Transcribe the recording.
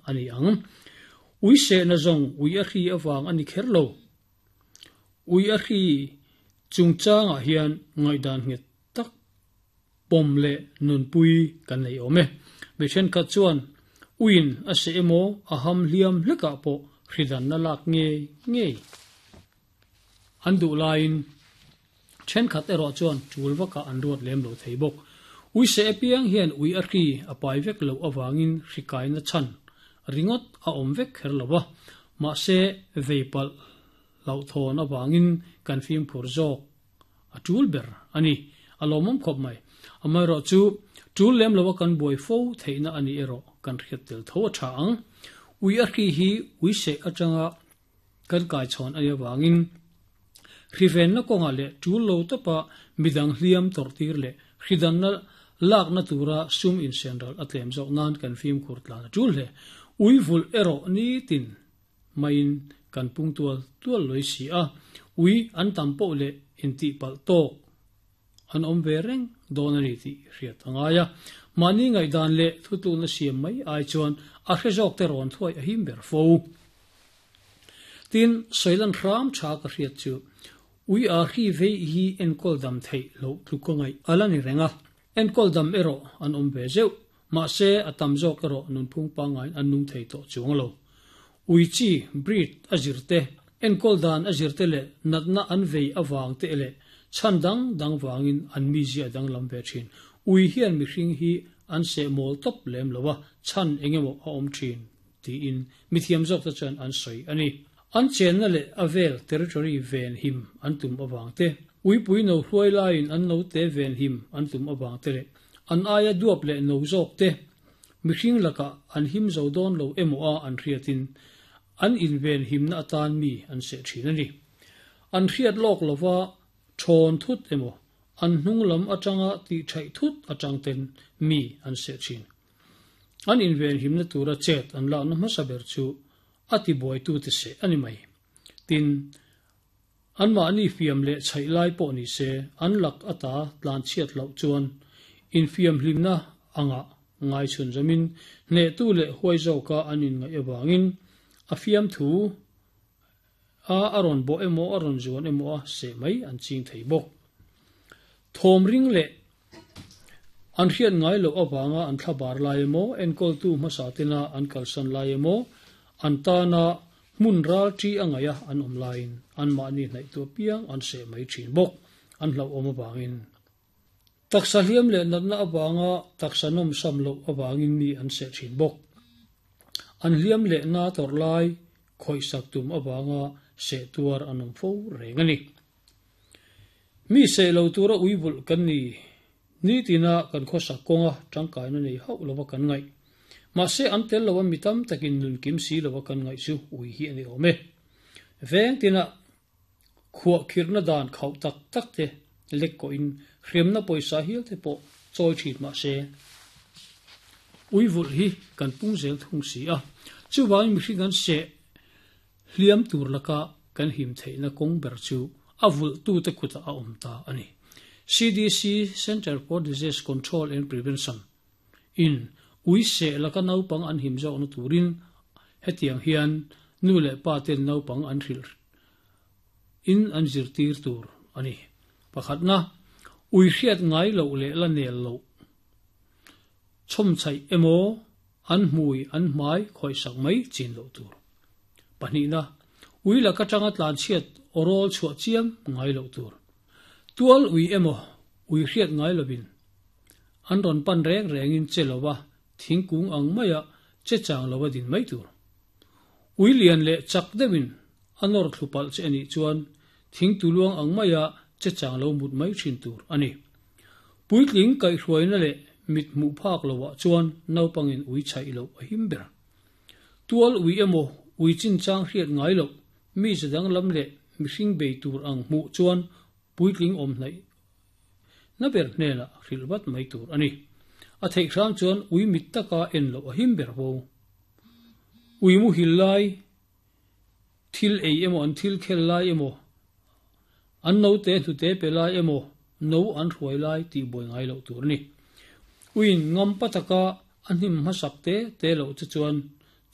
a ni ang. Ui sehna zawng ui a hri avang a ni kher lo. Ui a hri chungchangah hian ngaihdan nghet tak pawm leh nunpui kan nei awm e. Mi thenkhat chuan uiin a seh emaw a ham hliam hlekah pawh hridanna lak ngei ngei an duh laiin thenkhat erawh chuan tul vakah an ruat lem lo thei bawk. Ui seh apiang hian ui a hri a pai vek loh avangin hri kaina chhan ringawt a awm vek kher lo a, mahse vei palh hlauhthawn avangin kan fimkhur zawk a tul ber a ni. A lawmawm khawp mai. Amaherawh chu tul lem loa kan buai fo theihna a nih erawh kan hriat tel tho a tha ang. Ui a hri hi ui seh atanga kan kaichhawn a nih avangin hrivenna kawngah leh tul lo tawpa midang hliam tawrhtir leh hridanna lakna tura sum insenral a tlem zawk nan kan fimkhur tlan a tul hle. Ui vulh erawh nitin maiin kan pung tual tual lawih si a, ui an tam poh leh intihpalh tawk an awm ve reng dawn a ni tih hriat a ngai a. Mahni ngaihdan leh thutlukna siam mai ai chuan a hre zawk te rawn thuai a him ber fo. Tin, sawilan hram tha ka hriat chu ui a hri vei hi enkawl dam theih loh tluk ka ngaih a la ni reng a, enkawl dam erawh an awm ve zeuh. Mahse, a tam zawk erawh nunphung pangaiin an nung thei tawh chuang lo. Ui chi, breed, a zir te, enkawl dan a zir te leh natna an vei avang te leh chhan dang dang vangin an mizia a danglam ve thin. Ui hian mihring hi an seh mawl tawp lem lo a, chhan eng emaw a awm thin tiin mithiam zawk te chuan an sawi a ni. An chenna leh a vel territory ven him an tum avang te, uipui no hruai laiin an note ven him an tum avang te leh An aia duap leh no zawk te, mihring lakah an him zo dawn lo emaw a an hriatin an inven himna atan mi an seh thin a ni. An hriat lawk lova thawn thut emaw, an hnung lam atanga tih thaih thut atang ten mi an seh thin. An inven himna tura chet an lakna hmasa ber chu a tibuaitute seh a ni mai. Tin, Anmahni fiam leh chhaih lai pawh ni se, an lak ata tlan chhiat loh chuan infiam hlimna angah ngai chhun zamin hnehtu leh huai zawka an inngaih avangin a fiamthu a a rawn bawh emaw a rawn zuan emaw a seh mai an ching thei bawk. Thawm ring leh an hriat ngai loh avanga an thlabar lai emaw, enkawltu hmasa tena an kalsan lai emaw, an tana Hmun ral ṭi a ngaih a an awm laiin anmahni hnaihtu apiang an seh mai ṭhin bawk, an hlauhawm avangin. Taksa hliam leh natna avanga taksa nawmsam loh avangin mi an seh ṭhin bawk. An hliam leh na tawrh lai khawihsak tum avanga seh tuar an awm fo reng a ni. Mi seh lo tura ui vulh kan ni. Nitina kan khawsak kawnga tangkaina nei hauh lova kan ngaih. Mahse an tel lova mi tam takin nun kim si lova kan ngaih chu ui hi a ni awm e. Veng tina khuah khirhna dan khauh tak tak te lek kawhin hriamna pawisa hial te pawh chawi thin mahse ui vulh hi kan pung zel thung si a. Chuvangin mihring an seh hliam tur laka kan him theihna kawng ber chu a vulhtute kutah a awm ta a ni. CDC, Centre for Disease Control and Prevention, in ui seh laka naupang an him zawkna turin hetiang hian nu leh pa ten naupang an hrilh in an zirtir tur a ni. Pakhatna, ui hriat ngai loh leh la nel loh chhawmchhaih emaw an hmui an hmai khawihsak mai chin loh tur. Pahnihna, ui lak atanga tlanchhiat awrawl chhuah chiam ngai loh tur. Tual ui emaw ui hriat ngai lovin an rawn pan reng rengin che lova thingkung ang maia che chang lova din mai tur. Ui lian leh chak deuhin a nawr thlu palh che anih chuan thingtu luang ang maia che chang lo mut mai thin tur a ni. Puitling kaihhruaina leh mit hmuh phak loah chuan naupangin ui chhaih loh a him ber. Tual ui emaw ui chinchang hriat ngai loh mi ze danglam leh mihring bei tur ang hmuh chuan puitling awm hnaih na ber hnenah hrilh vat mai tur a ni. A theih hram chuan ui mit taka en loh a him ber vo. Ui muhil lai thil ei emaw an thil khel lai emaw an note hnute pe lai emaw no an hruai lai tih buai ngai loh tur a ni. Uiin ngam pa taka a hnim hmasak te te loh che chuan.